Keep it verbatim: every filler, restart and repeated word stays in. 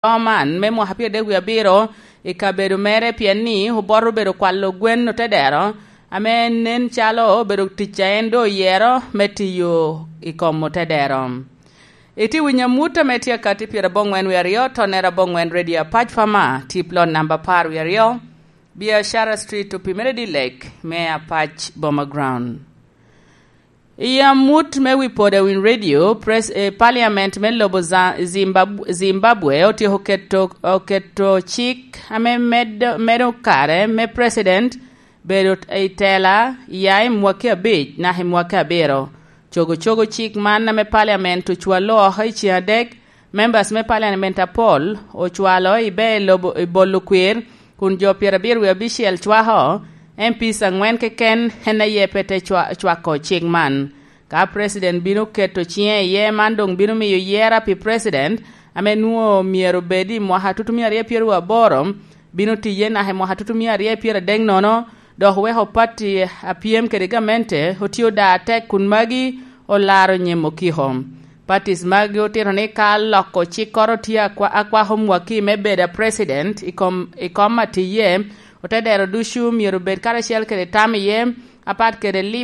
man me mwaka pyeradek wie abiro i kabedo mere, pien ni oboto obedo kwalo gwen otedero, ame nen calo obedo tic a en doŋ oyero me tiyo i kom otedero. Itye winyo amut ame tye akati pyeraboŋwen wie aryo, tonnere aboŋwen Radio Apac Fama, tip lot namba apar wie aryo, Biashara Street, Opimere Dilek, me Apac Boma Ground. I amut me wi Podawin Radio, pres-, eh, Parliament me lobo Za-, Zimbab-, Zimbabwe otyeko keto, oketo cik ame medo, medo kare me President bedo i tela ya i mwaki abic naka i mwaki abiro. Cogo cogo cik man ame Parliament ocwalo oko i ceng adek, members me Parliament apol ocwalo i be lobo, i bolo kwir, kun jo pyerabiro wie abicel cwako, M Ps angwen keken en aye pe te cwa-, cwako cik man. Ka President bino keto ciŋe iye, man doŋ bino miyo yera pi President ame nwoŋo myero obed i mwaka tutumia aryo pyeraryo aboro, bino tiye naka i mwaka tutumia aryo pyeradek nono, dok weko pati a pyem kede gamente otio da atek kun magi olaro nyem okiko. Patis magi otito ni ka loko cikkoro tye akwa-, akwako mwaki me bedo a President i kom, i kom atiye, otedero ducu myero obed karacel kede tam iye, apat kede lib